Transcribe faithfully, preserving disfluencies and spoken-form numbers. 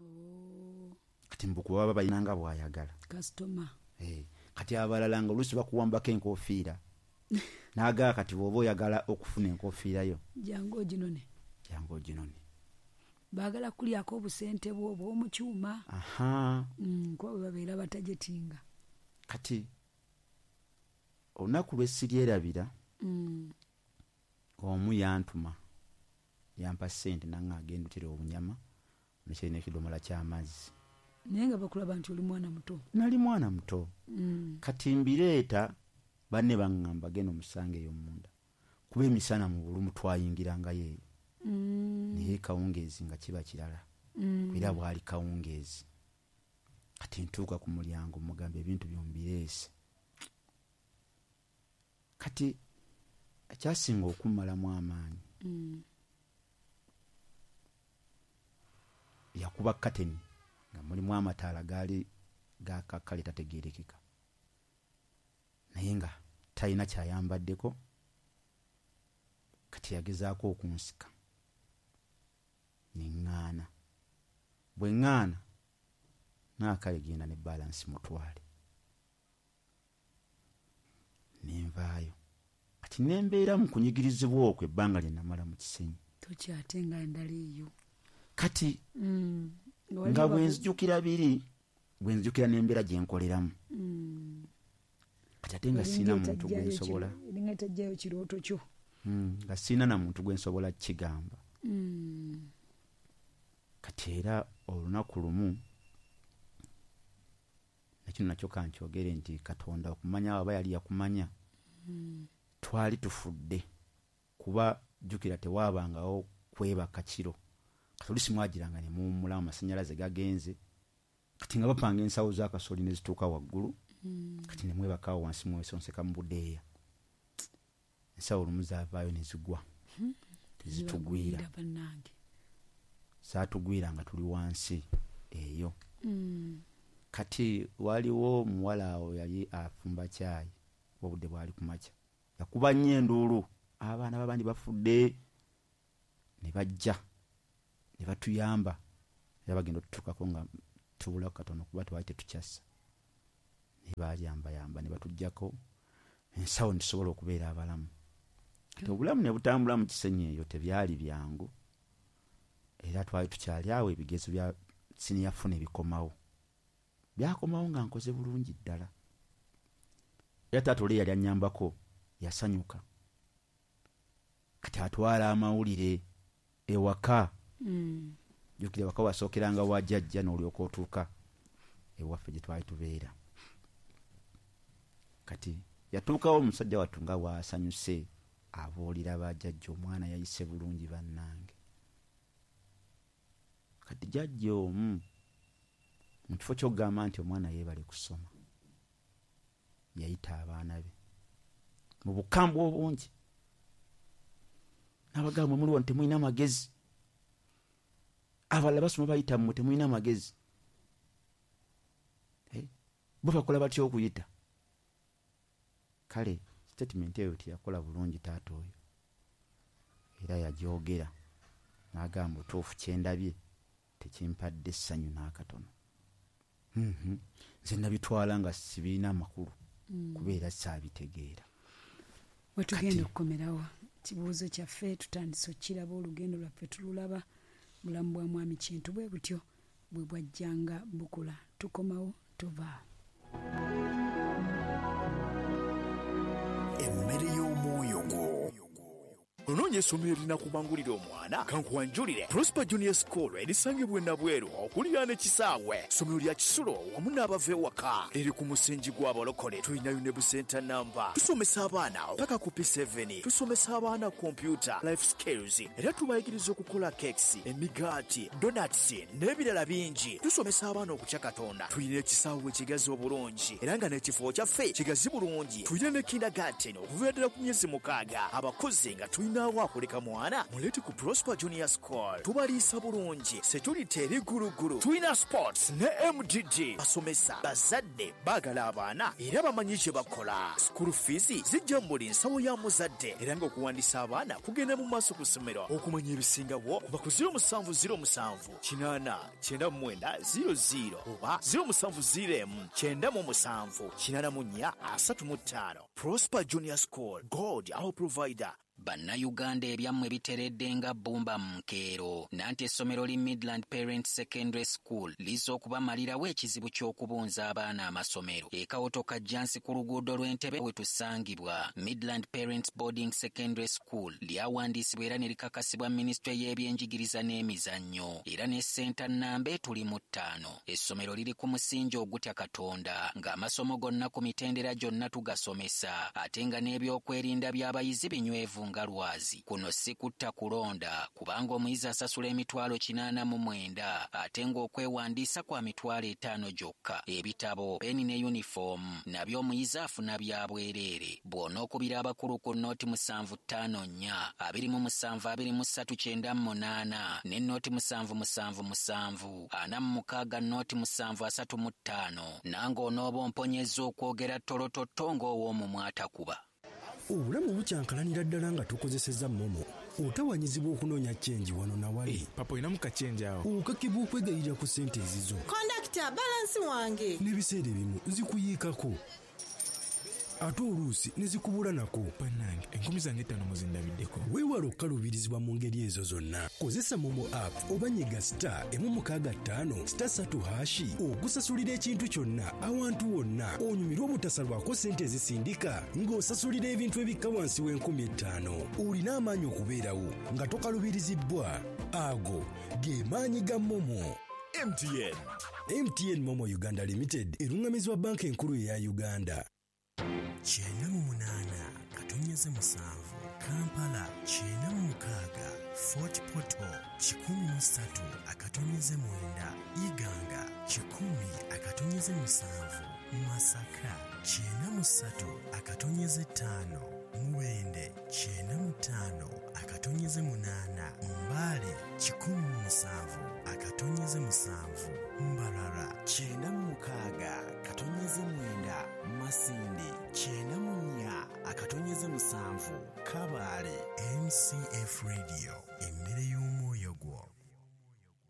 Oh. Kati mbukuba baba bayinanga bw'ayagala. Customer. Eh, kati abalala nga oluusi bakuwambako enkofiira. N'agaa kati bw'oba oyagala okufuna enkofiira yo. Jangu oginone. Jangu oginone. Baagala kulyako obusente bwo obw'omu kyuma. Aha. Mm, kuba bwe babeera batajetinga. Kati olunaku lwe siryerabira, Mm. omu yantuma, yampa ssente nange agenda otera obunyama, nekyalina ekidomola ky'amazzi. Naye nga bakulaba nti oli mwana muto. Nali mwana muto. Mm. Kati mbireeta, banne baŋŋamba genda omusange eyo munda. Kuba emisana mu bulumu twayingirangayo eyo. Mm. Naye kawungeezi nga kiba kirala. Mm. Era bwali kawungeezi. Kati ntuuka ku mulyango mugamba ebintu byombireese. Kati ekyasinga okummalamu amaanyi. Mm. Yakuba kateni nga mulimu amataala gaali gakakkale tategeerekeka. Naye nga talina kyayambaddeko. Kati yagezaako okunsika. Ne ŋŋaana. Bwe ŋŋaana, n'akale genda ne balance mutwale. Ne nvaayo. Kati ne mbeera mu kunyigirizibwa okwo ebbanga lye namala mu Kisenyi. Tokyate nga endala eyo. Kati Mm. nga bwe nzijukira biri, bwe nzijukira n'embeera gye nkoleramu. Mm. Kati ate nga sirina muntu gwe nsobola. Eringa etajjayo kirooto kyo. Mm, nga sirina na muntu gwe nsobola kukigamba. Mm. Kati era olunaku lumu, nakino nakyo kankyogere nti Katonda okumanya aba yali yakumanya, Mm. twali tufudde kuba jjukira tewaabangawo kwebaka kiro. Kati oluusi mwagiranga ne muwummulamu amasannyalaze gagenze. Kati nga bapanga ensawo z'akasooli ne zituuka waggulu. Mm. Kati ne mwebakawo wansi mwesonseka mu budeeya. Ensawo olumu zaavaayo ne zigwa. Hmm. Tezitugwira. Zibagwira bannange. Zaatugwira nga tuli wansi eyo. Mm. Kati waliwo omuwala awo yali afumba caayi, obudde bwali ku makya. Yakuba nnyo enduulu, abaana b'abandi bafudde. Ne bajja, ne batuyamba. Era bagenda otutuukako nga tubulako katono kuba twali tetukyassa. Ne bayambayamba ne batuggyako ensawo ne tusobola okubeera abalamu. Kati obulamu ne butambula mu Kisenyi eyo tebyali byangu. Era twali tukyali awo ebigezo bya siniya four ne bikomawo. Byakomawo nga nkoze bulungi ddala. Era taata oli yali annyambako yasanyuka. Kati atwala amawulire ewaka. Mm. Jjukira ewaka wasookeranga wa jjajja n'olyoka otuuka ewaffe gye twali tubeera. Kati yatuukawo omusajja wattu nga bw'asanyuse abuulira bajjajja omwana yayise bulungi bannange. Kati jjajja omu mu kifo ky'okugamba nti omwana yeebale kusoma, yayita abaana be mu bukambwe obungi. N'abagamba mwe muliwo temulina magezi. Abalala basoma bayita mmwe temulina magezi. Eh? Bo bakola batya okuyita? Kale statement eyo teyakola bulungi taata oyo. Era yagyogera n'agamba otuufu kye ndabye tekimpadde essanyu n'akatono. Mhm. Nze nabitwala nga sibirina amakulu Mm. kubeera saabitegeera. We tugenda Kati okukomerawo kibuuzo kyaffe tutandise okukiraba olugendo lwaffe tululaba bulamu bwa mwami Kintu bwe butyo bwe bwajjanga bukula. Tukomawo tuva. Emmere y'omwoyo gwo. Onoonya essomero erinakubangulira omwana? Kankuwanjulire Prosper Junior School erisangibwa e Nabweru okuliraana ekisaawe. Ssomero lya kisulo wamu n'abava ewaka. Liri ku musingi gw'abalokole. Tulinayo ne busenta namba. Tusomesa abaana paka ku P seven. Tusomesa abaana kompyuta, life skills. Era tubayigiriza okukola cakes, emigaati, donuts n'ebirala bingi. Tusomesa abaana okutya Katonda. Tulina ekisaawe ekigazi obulungi era nga n'ekifo kyaffe kigazi bulungi. Tulina ne kindergarten okuviira ddala ku myezi mukaaga. Abakozi nga tulina Munnaawo akuleka mwana, muleete ku Prosper Junior School. Tubaliisa bulungi, security eri gulugulu. Tulina sports ne M D D. Basomesa, bazadde baagala abaana era bamanyi kye bakola. School fees zijja mu buli nsawo ya muzadde era ng'okuwandiisa abaana kugenda mu maaso ku ssomero. Okumanya ebisingawo kuba ku zero musanvu zero musanvu kinaana kyenda mu mwenda zero zero oba zero musanvu zero emu kyenda mu musanvu kinaana mu nnya asatu mu ttaano. Prosper Junior School, God our provider. Bannayuganda ebyammwe biteredde nga bbumba mu nkeero. Nanti essomero li Midland Parents Secondary School lizza okubamalirawo ekizibu ky'okubunza abaana amasomero. E Kawotoka Jjansi ku luguudo lw'Entebbe we tusangibwa. Midland Parents Boarding Secondary School lyawandiisibwa era ne likakasibwa minisitule y'ebyenjigiriza n'emizannyo era ne ssenta nnamba etuli mu ttaano. Essomero liri ku musingi ogutya Katonda ng'amasomo gonna ku mitendera gyonna tugasomesa ate nga n'ebyokwerinda by'abayizi binywevu nga lwazi. Kuno si kutta kulonda kubanga omuyizi asasula emitwalo kinaana mu mwenda ate ng'okwewandiisa kwa mitwalo etaano gyokka. Ebitabo, peni ne yunifoomu nabyo omuyizi afuna bya bwereere. Bw'onookubira abakulu ku nnooti musanvu ttaano nnya abiri mu musanvu abiri mu ssatu kyenda mu munaana ne nnooti musanvu musanvu musanvu ana mu mukaaga nnooti musanvu asatu mu ttaano nange onooba omponyezza okwogera ttolototto ng'ow'omumwa atakuba. Obulamu bukyankalanira ddala nga tukozesezza MoMo. Otawanyizibwa okunoonya chenji wano na wali. Hey, papa olinamu kachenji awo. Okakibwa okwegayirira ku ssente ezizo. Kondakita, balansi wange. N'ebiseera ebimu zikuyiikako. Ate oluusi ne zikubula nako. Bannange, enkumi zange ttaano muzindabiddeko. Weewale okukaluubirizibwa mu ngeri ezo zonna. Kozesa MoMo app oba nyiga star emu mukaaga ttaano star ssatu hashi okusasulira ekintu kyonna awantu wonna onyumirwe obutasalwako ssente ezisindika ng'osasulira ebintu ebikka wansi w'enkumi ettaano. Olina amaanyi okubeerawo nga tokaluubirizibbwa. Ago ge maanyi ga MoMo. M T N. M T N MoMo Uganda Limited erungamizibwa Banka Enkulu eya Uganda. Kyenda mu munaana katonyeze musanvu Kampala kyenda mu mukaaga Fort Portal kikumi mu ssatu akatonyeze mwenda Iganga kikumi akatonyeze musanvu Masaka kyenda mu ssatu akatonyeze ttaano Mubende kyenda mu ttaano akatonyeze munaana Mbale kikumi mu musanvu akatonyeze musanvu Mbarara kyenda mu mukaaga katonyeze mwenda Masindi kyenda mu nnya akatonyeze musanvu Kabale. M C F Radio, emmere y'omu